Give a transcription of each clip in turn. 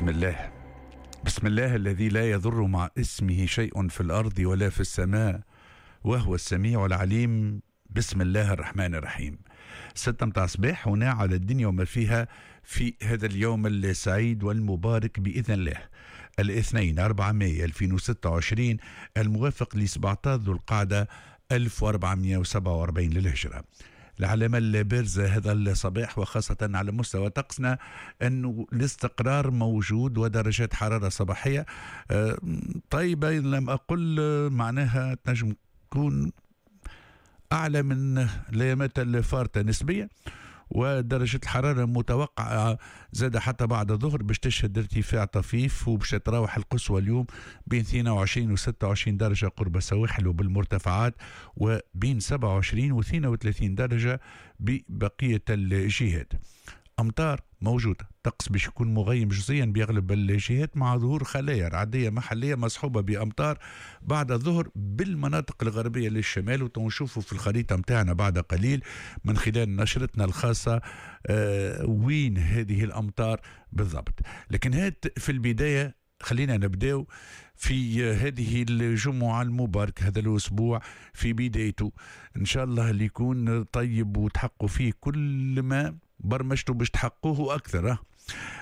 بسم الله، بسم الله الذي لا يضر مع اسمه شيء في الأرض ولا في السماء وهو السميع العليم. بسم الله الرحمن الرحيم. 6 متاع صباح هنا على الدنيا وما فيها في هذا اليوم السعيد والمبارك بإذن الله، الاثنين 4 ماي 2026 الموافق ل 17 ذو القعدة 1447 للهجرة. العلامة البارزة هذا الصباح وخاصة على مستوى طقسنا أنه الاستقرار موجود ودرجات حرارة صباحية طيبة، إن لم أقل معناها تنجم تكون أعلى من الأيامات الفارطة نسبيا. ودرجة الحرارة المتوقعة زاد حتى بعد الظهر باش تشهد ارتفاع طفيف، وباش تراوح القصوى اليوم بين 22 و 26 درجة قرب السواحل وبالمرتفعات، وبين 27 و 32 درجة ببقية الجهات. أمطار موجودة، طقس باش يكون مغيم جزئيا بأغلب الجهات مع ظهور خلايا رعدية محلية مصحوبة بأمطار بعد الظهر بالمناطق الغربية للشمال، وتنشوفوا في الخريطة متاعنا بعد قليل من خلال نشرتنا الخاصة وين هذه الأمطار بالضبط. لكن هات في البداية خلينا نبداو في هذه الجمعة المباركة، هذا الأسبوع في بدايته إن شاء الله اللي يكون طيب وتحققوا فيه كل ما برمجتوا باش تحققوه أكثر.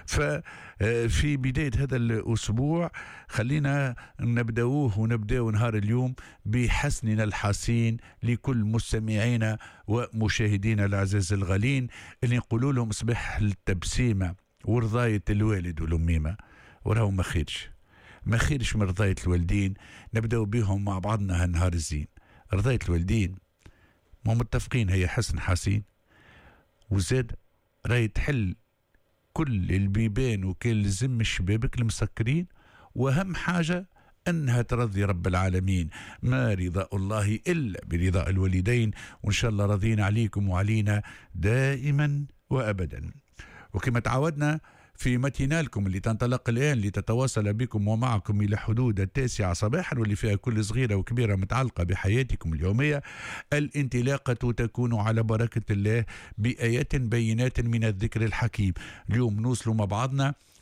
ففي بداية هذا الأسبوع خلينا نبدأوه ونبدأ نهار اليوم بحسننا الحسين لكل مستمعينا ومشاهدينا الأعزاز الغالين اللي نقولوا لهم صباح التبسيمة ورضاية الوالد والأميمة، وراهو ما خيرش ما خيرش من رضاية الوالدين. نبدأ بهم مع بعضنا هالنهار الزين. رضاية الوالدين ما متفقين هي حسن حسين، وزاد راهي تحل كل البيبان وكل لزم الشبابك المسكرين، واهم حاجة انها ترضي رب العالمين. ما رضاء الله الا برضاء الوالدين، وان شاء الله رضينا عليكم وعلينا دائما وابدا. وكما تعودنا في ماتينالكم اللي تنطلق الآن لتتواصل بكم ومعكم إلى حدود 9 صباحا، واللي فيها كل صغيرة وكبيرة متعلقة بحياتكم اليومية، الانطلاقة تكون على بركة الله بآيات بينات من الذكر الحكيم. اليوم نوصل مع بعضنا